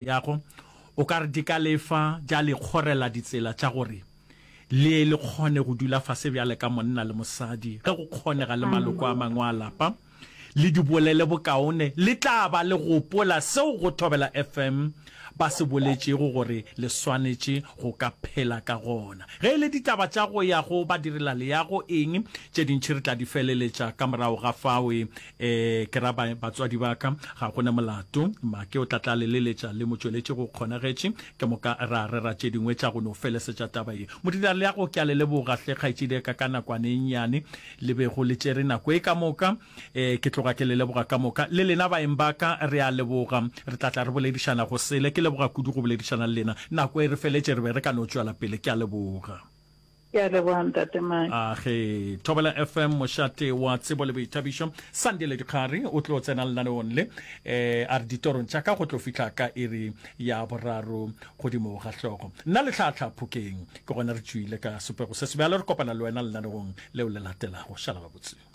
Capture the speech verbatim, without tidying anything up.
Yago, o ka re di ka le fa, tša le kgorela ditsela tša gore le ye le kgone go dula fase bjale ka monna le mosadi, ge go kgonega le maloko a mangwe a lapa, le di bolele bokaone, le tla ba le gopola seo go Thobela FM ba se boletšego gore le swanetše go ka phela ka gona. Ge e le ditaba tša go ya go badirelaleago eng, tše dintši re tla di feleletša ka morago ga fao. E, ke ra ba, batswadi ba ka, ga go na molato. Make o tla tla le leletša le motšweletši go kgonagetše, ke moka ra rera tše dingwe tša go no felesetša taba ye. Modiraleago, ke a le leboga hle, kgaetšediaka, ka nakwana e nnyane le bego le tšere nako e ka moka. E, ke tloga ke le leboga ka moka. Le lena baeng ba ka, re a leboga. Re tla tla re boledišana go sele. Ke leboga kudu go boledišana le lena. Nako e re feletše, re be re ka no tšwela pele. Ke a leboga. Ke a leboga Ntate Mike. A ge Thobela F M mošate wa tsebo le boithabišo, Sandile Dikgari o tlo tsena lenaneong le eh, a re ditorong tša ka go tlo fihla ka iri ya boraro godimo ga hlogo. Nna le tlhahla Phokeng ke gona re tšwile ka sepego se sebjalo, re kopana le wena lenaneong leo le latelago. Šala gabotse.